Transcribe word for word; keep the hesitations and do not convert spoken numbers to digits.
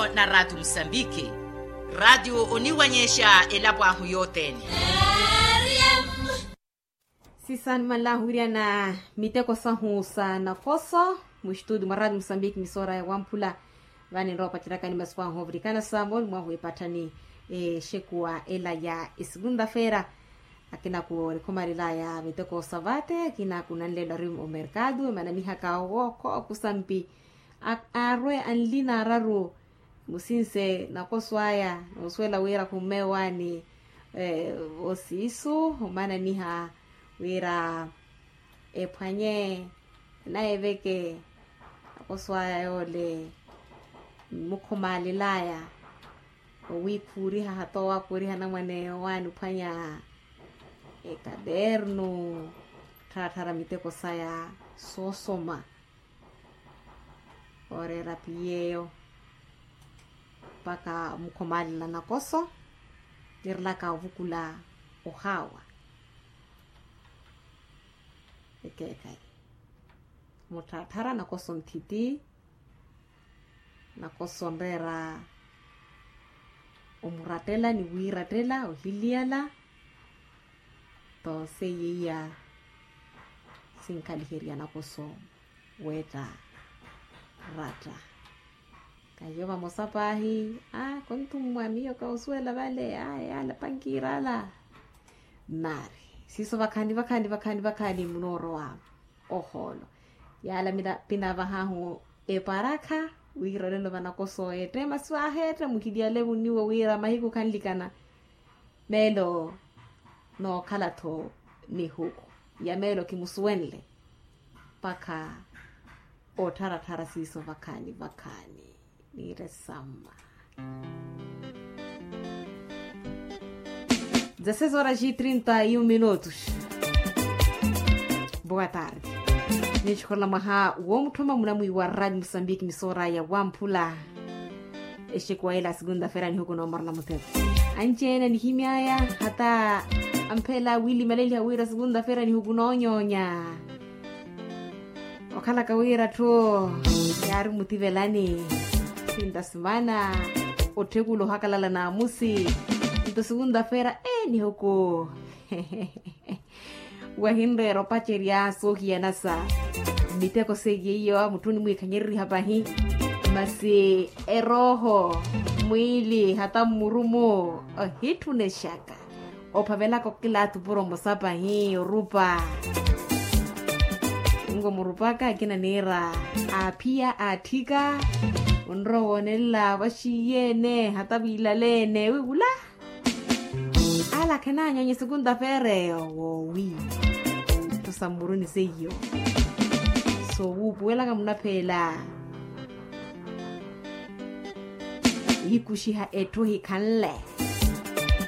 Na raatiyo musambiki. Raatiyo oniwanyexa elapo ahu yothene. Sisaani manlahu wiryana miteko sahu sa nakoso. Muxituti mwa raatiyo musambiki misoora ya wamphula. Vani nrowa opaceryakani masiku ahu ovirikana sa mooni mwahu epatthani exekuwa ela ya esukunta-feera. Akina ku orikhumalelaya miteko sa vate akina ku nanlelo ari omerkatu emananihaka owo kookusampi. Aarwe anli naararu musinse nakoso aya noosuwela wira khumme waani. Osiisu omananiha wira ephwanye naeveke nakoso aya yoole. Mukhumalelaya owiikhuuriha hata owaakhuuriha anamwane owaani ophwanya ekadernu. Ttharattharya miteko saya soosoma. Ooreera piyeeyo mpakha mukhomalela nakoso. Nirelaka ovukula ohaawa ekeekhayi muttharattharya nakoso nthiti. Nakoso onreera omurattela ni wiirattela ohiliyala. Nto seiya iya sinkhaliherya nakoso weetta ratta. Kahiyo vamosa paahi a konthummwa miyo kahusuwela vale a yaala pankiira ala. Nari siiso vakhani vakhani vakhani vakhani munoorowa ohoolo. Yaala pinavahahu eparakha wiira olelo vanakoso eette masi waaheetta muhiliyale vuniwo wira mahiku khanlikana. Meelo nookhala-tho nihuku ya meelo kimusuwenle mpakha ottharatthara siiso vakhani vakhani. Niire samma. Dezesseis horas e trinta e um minutos. Boa tarde. Ninxikholela mwaha woomutthoma munamwiiwa radio musambiki misoora ya wamphula. Exekuwa ela a segunda-feira nihuku noomorela mutheko. Anci-ene anihimy'aya hata ampheela wiilimaleliha wira segunda-feira nihuku noonyoonya. Okhalaka wira atthu yaari mutivelani sinta simana otthekula ohakalala naamusi. Nto segunda-feira e nihuku wahinreera opacerya soohiyana sa miteko seiya iyo mutthu onimwiikhanyereriha pahi. Masi erooho mwiili hata mmurumu ohitthunexaka ophavelaka okilaathi opuro omosa pahi orupa. Nko murupaka akina niira aaphiya aatthika onrowa woonelela vaxiiyene hata viilaleene wiwula. Ala khenaanyonya esukunta feera eyo woowi. Ttusa mmuruni seiyo soowuupuwelaka munapheela. Iikuxiha etthu hikhanle.